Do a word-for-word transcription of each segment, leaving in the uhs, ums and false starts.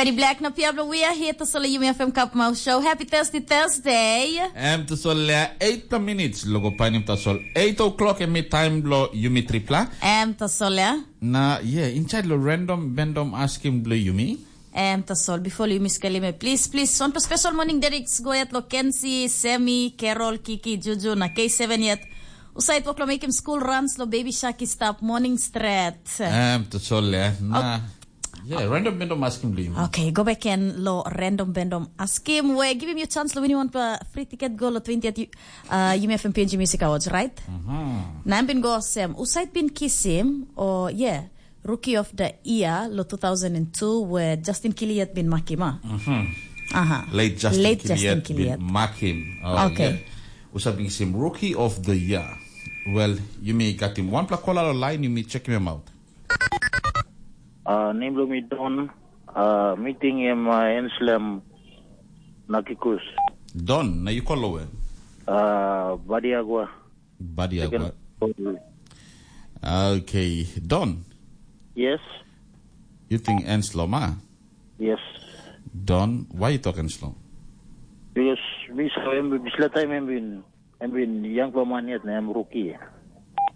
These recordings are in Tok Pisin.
Eddie Black na Piablo, we are here to solo Yumi F M Cup Mouth Show. Happy Thursday, Thursday. Em tasol lea eight minutes logo painim tasol eight o'clock em time blo yumi tripla. Em tasol lea. Na yeah, inside lo random bendom asking blo yumi. Em tasol before yumi skelim e, please, please, on special morning Derek go yet lo Kensi, Semi, Carol, Kiki, Juju na K seven yet. Usait wok lo mekim school runs lo baby shark i stap morning stret. Em tasol lea. Na. Yeah, random bendom asking blo yumi. Okay, go back and lo random bendom asking. We give him your chance lo win one pa free ticket go lo twentieth uh, Yumi F M P N G Music Awards, right? Na em bin go sem. Usait bin kisim o yeah, rookie of the year lo two thousand and two where Justin Kiliet bin makim ah. Aha. Late Justin Late Justin Kiliet bin Kiliet. Makim. Oh, Okay. Yeah. Usait bin kisim rookie of the year. Well, yumi got him one plak kola lo line, yumi check him out. Uh, nem blo mi Don, uh, meeting em uh, Enslem Nakikus. Don, na you call lo where? Uh, Badiagua. Badiagua. Second floor. Okay, Don. Yes. You think Enslem, ah? Yes. Don, why you talking slow? Because mi sa em bisla time em bin em bin young man yet na em rookie.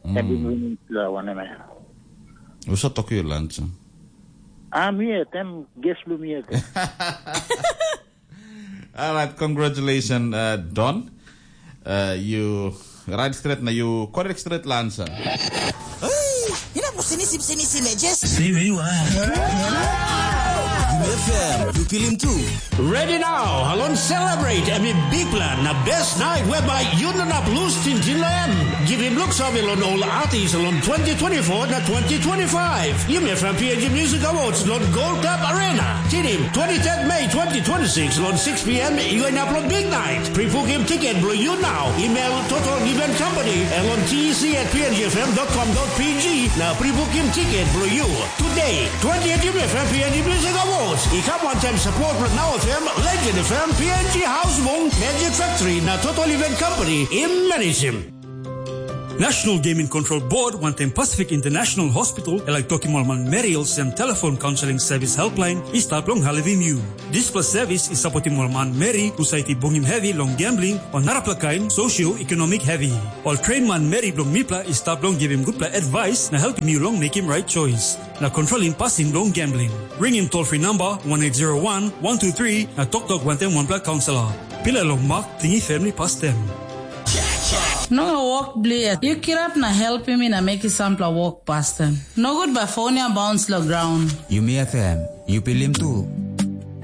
Em bin win la one em. Usa talk you lunch. Ah, mi yet em guest blo mi yet. All right, congratulations, uh, Don. Uh, you right straight na you correct straight la answer. Hey, you know, sini sim sini sim just Stay where you are. F M, you feel him too. Ready now, alon celebrate em i big plan na best night whereby you no nap lose tintin lo em. Give him look sabi lon all artists lon twenty twenty-four na twenty twenty-five. Yumi F M P N G Music Awards lon Gold Cup Arena. Tinim twenty-third May twenty twenty-six lon six p.m. You end up lon big night. Pre-book him ticket blo you now. Email Total Event Company and lon T E C at P N G F M dot com dot P G. Now pre-book him ticket blo you. Today, twentieth Yumi F M P N G Music Awards. I kam wantaim support blo Now F M, Legend F M, P N G House Mong, Magic Factory, na Total Event Company, i managem. National Gaming Control Board wantaim Pacific International Hospital, e laik tokim ol manmeri olsem telefon counseling service helpline i stap long helpim yu. Dispela service i sapotim ol manmeri husat i bungim hevi long gambling o narapela kain socio-economic hevi. Ol train manmeri bilong mipela i stap long givim gutpela advice na helpim yu long mekim right choice. Na kontrolim pasin bilong gambling. Ringim toll free number one eight zero one, one two three na toktok wantaim wanpela kaunselor. Pilai long mak, tingi family pastem. No wok blia. Yu kirap na helpim mi na mekim sampela wok pastem. Nogut bai fon ya bauns long graun. Yumi F M, yu pilim tu.